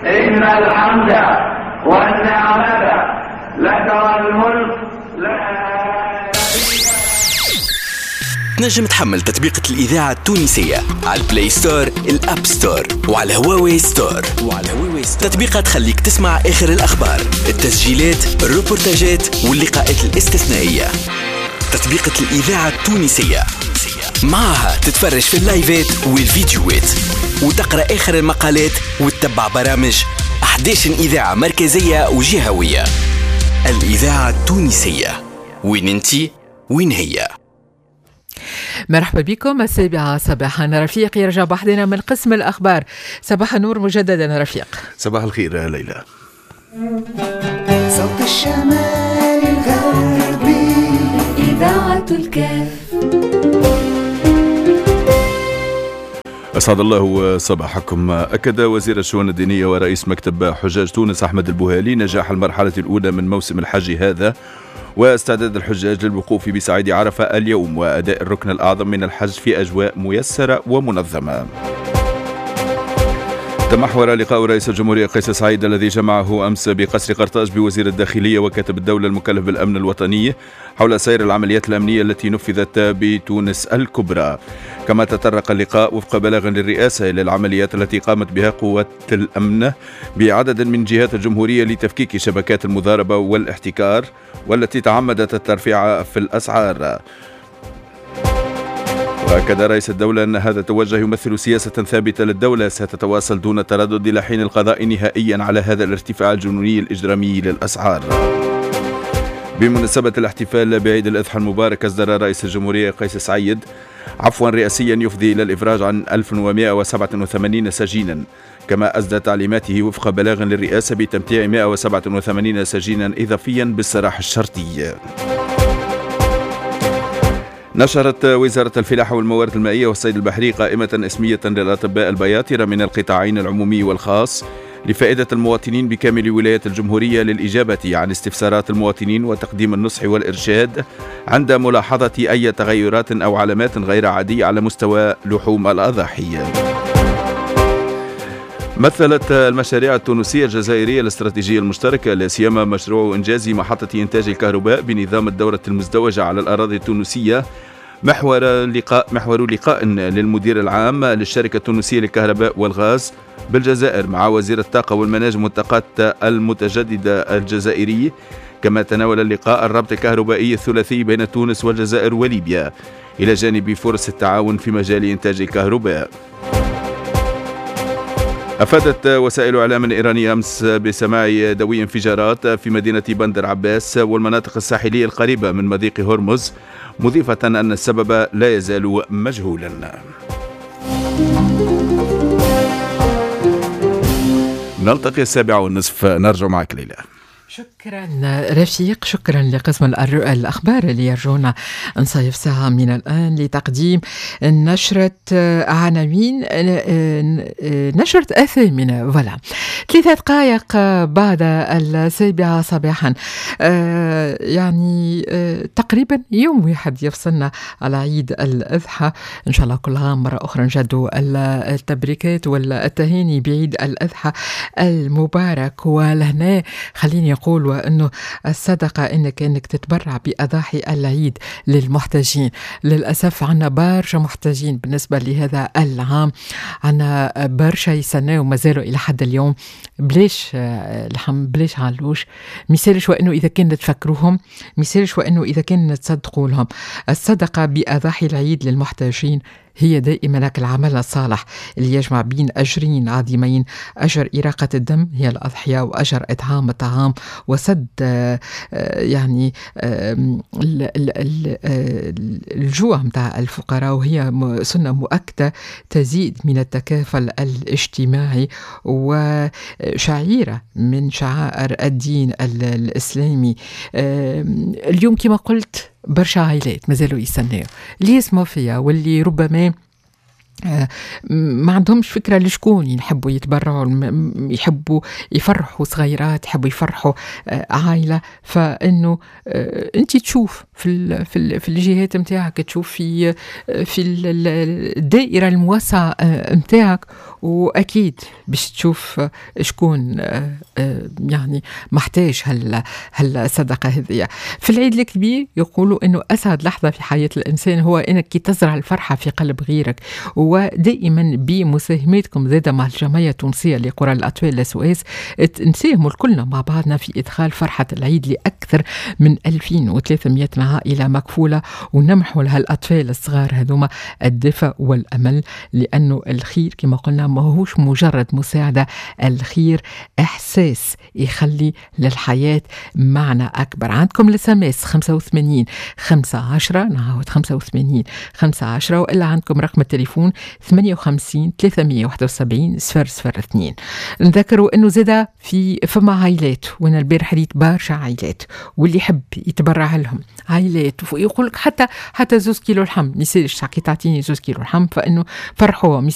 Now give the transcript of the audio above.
إن الحمد والنعمة لك والملك لا. تنجم تحمل تطبيقة الإذاعة التونسية على ال Play Store، ال App Store، وعلى Huawei Store. تطبيقة تخليك تسمع آخر الأخبار، التسجيلات، الروبورتاجات واللقاءات الاستثنائية. تطبيقة الإذاعة التونسية معها تتفرج في اللايفات والفيديوهات وتقرأ آخر المقالات وتتبع برامج 11 إذاعة مركزية وجهوية. الإذاعة التونسية، وين انتي وين هي. مرحبا بكم. 7 صباحا. رفيق يرجع بحدنا من قسم الأخبار. صباح النور مجددا رفيق. صباح الخير ليلى. صوت الشمال الغربي، إذاعة الكاف. أسعد الله صباحكم. أكد وزير الشؤون الدينية ورئيس مكتب حجاج تونس أحمد البوهالي نجاح المرحلة الأولى من موسم الحج هذا واستعداد الحجاج للوقوف بصعيد عرفة اليوم وأداء الركن الأعظم من الحج في أجواء ميسرة ومنظمة. تمحور لقاء رئيس الجمهورية قيس سعيد الذي جمعه أمس بقصر قرطاج بوزير الداخلية وكاتب الدولة المكلف بالأمن الوطني حول سير العمليات الأمنية التي نفذت بتونس الكبرى. كما تطرق اللقاء وفق بلاغ للرئاسة إلى العمليات التي قامت بها قوات الأمن بعدد من جهات الجمهورية لتفكيك شبكات المضاربة والاحتكار والتي تعمدت الترفيع في الأسعار. وأكد رئيس الدولة أن هذا التوجه يمثل سياسة ثابتة للدولة ستتواصل دون تردد إلى حين القضاء نهائيا على هذا الارتفاع الجنوني الإجرامي للأسعار. بمناسبة الاحتفال بعيد الأضحى المبارك، أصدر رئيس الجمهورية قيس سعيد عفوا رئاسيا يفضي إلى الإفراج عن 1187 سجينا، كما أسدى تعليماته وفق بلاغ للرئاسة بتمتيع 187 سجينا إضافيا بالسراح الشرطي. نشرت وزارة الفلاحة والموارد المائية والصيد البحري قائمة اسمية للأطباء البياطرة من القطاعين العمومي والخاص لفائدة المواطنين بكامل ولايات الجمهورية للإجابة عن استفسارات المواطنين وتقديم النصح والإرشاد عند ملاحظة أي تغيرات أو علامات غير عادية على مستوى لحوم الأضاحي. مثلت المشاريع التونسية الجزائرية الاستراتيجية المشتركة لا سيما مشروع إنجاز محطة إنتاج الكهرباء بنظام الدورة المزدوجة على الأراضي التونسية محور لقاء للمدير العام للشركة التونسية للكهرباء والغاز بالجزائر مع وزير الطاقة والمناجم والطاقات المتجددة الجزائري. كما تناول اللقاء الربط الكهربائي الثلاثي بين تونس والجزائر وليبيا إلى جانب فرص التعاون في مجال إنتاج الكهرباء. أفادت وسائل إعلام إيرانية أمس بسماع دوي انفجارات في مدينة بندر عباس والمناطق الساحلية القريبة من مضيق هرمز، مضيفة أن السبب لا يزال مجهولا. نلتقي 7:30، نرجع معك ليلى. شكرا رفيق، شكرا لقسم الأخبار اللي يرجونا نصيف ساعة من الآن لتقديم نشرة عناوين نشرة الثامنة. فوالا 3 دقائق بعد 7 صباحا، يعني تقريبا يوم واحد يفصلنا على عيد الأضحى. إن شاء الله كل عام مرة أخرى نجدوا التبريكات والتهاني بعيد الأضحى المبارك. ولهنا خليني أقول وأنه الصدقة إنك تتبرع بأضاحي العيد للمحتاجين. للأسف عنا برشا محتاجين بالنسبة لهذا العام، عنا برشا يستناو وما زالوا إلى حد اليوم بلاش لحم بلاش علوش. مثالش وأنه إذا كان تفكروهم، مثالش وأنه إذا كان تصدقوا لهم. الصدقة بأضاحي العيد للمحتاجين هي دائما لك العمل الصالح اللي يجمع بين أجرين عظيمين: أجر إراقة الدم هي الأضحية، وأجر إطعام الطعام وسد يعني الجوع متاع الفقراء، وهي سنة مؤكدة تزيد من التكافل الاجتماعي وشعيرة من شعائر الدين الإسلامي. اليوم كما قلت برشا عائلات مازالوا يستناو اللي يسمعوا فيها واللي ربما ما عندهمش فكرة لشكون يحبوا يتبرعوا، يحبوا يفرحوا صغيرات، يحبوا يفرحوا عائلة. فإنه أنت تشوف في الجهات نتاعك، تشوف في الدائرة الموسعة نتاعك، وأكيد باش تشوف شكون يعني محتاج هالصدقة هذه. في العيد الكبير يقولوا إنه أسعد لحظة في حياة الإنسان هو إنك كي تزرع الفرحة في قلب غيرك. ودائما بمساهماتكم زادة مع الجمعية التونسية لقرى الأطفال SOS نساهموا كلنا مع بعضنا في إدخال فرحة العيد لأكثر من 2300 عائلة مكفولة، ونمنحوا لهالأطفال الصغار هذوما الدفء والأمل، لأنه الخير كما قلنا ما هوش مجرد مساعدة، الخير إحساس يخلي للحياة معنى أكبر. عندكم ال SMS 85 15، نعاود 85 15، وإلا عندكم رقم التليفون 58 371 002. نذكروا انه زادا في فما عائلات، وانا البارح ريت برشا عائلات واللي يحب يتبرع لهم عائلات، ويقول لك حتى 2 كيلو لحم، ما يسالش كي تعطيني 2 كيلو لحم، فانه فرحوهم.